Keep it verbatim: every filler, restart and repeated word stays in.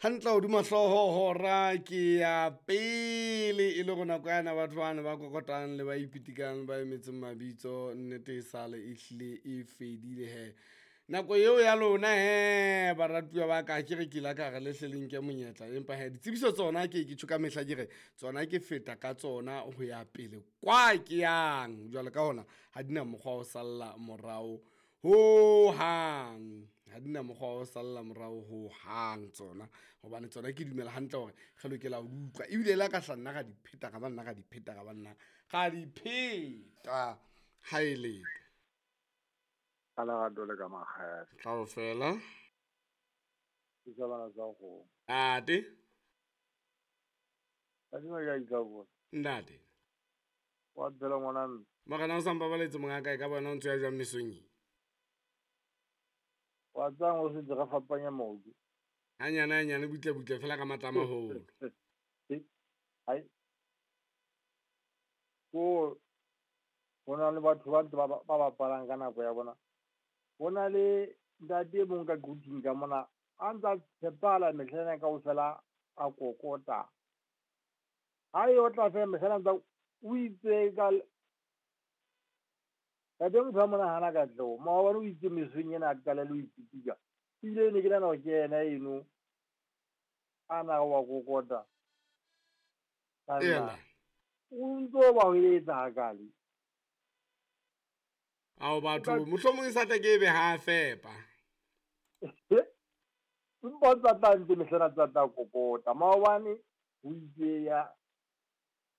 Hantle hodima hlooho hora ke ya pele e le go nako yana batho bana ba kokotang le ba ipitikang ba emetseng mabitso nnete e sale e hlile e fedile he. Nako eo ya lona he baratuwa ba ka ke re ke la ka re le hle le nke monyetla empa he ditsebiso tsona ke ke tjho ka mehla ke re tsona ke feta ka tsona ho ya pele kwa ke yang. Jwale ka hona ha di na mokgwa wa ho salla morao ho hang, ha di na mokgwa wa ho salla morao ho hang tsona hobane tsona ke dumela hantle hore re lokela ho di utlwa ebile le ha ka hla nna ra di pheta ra ba nna ra di pheta ra ba nna ra di pheta ha e letho. Ka lerato le ka makgele. Kaofela. Ke tsa bana tsa kgomo. Ntate. Kadima ke a itla Ntate. Wa phela ngwana mme. Morena o sa mpabaletse monga ka e ka bona o ntse ya jwang mesong e? Wa tsang o se re fapanya maoto. Hanyane hanyane butle butle fela ka matla a maholo. Ai. Ko ho na le batho ba ntse ba ba bapalang ka nako ya bona. Ho na le ntate e mong ka Quthing ka mona a ntsa tshepala mehla ena kaofela a kokota. Ha e otla fela mehla ena ntsa o itse ka Ntate motho a mona hana katleho. Maobane o itse mesong ena a qalelle ho ipitika. Ebile ne ke nahana hore ke yena eno a na wa kokota. Ena. O ntso ba ho etsa hakale. Ao batho mohlomong e sa tla ke ebe ha fepa. Empa o tsa tla ntse mehla ena tsa tla kokota. Maobane o itse ya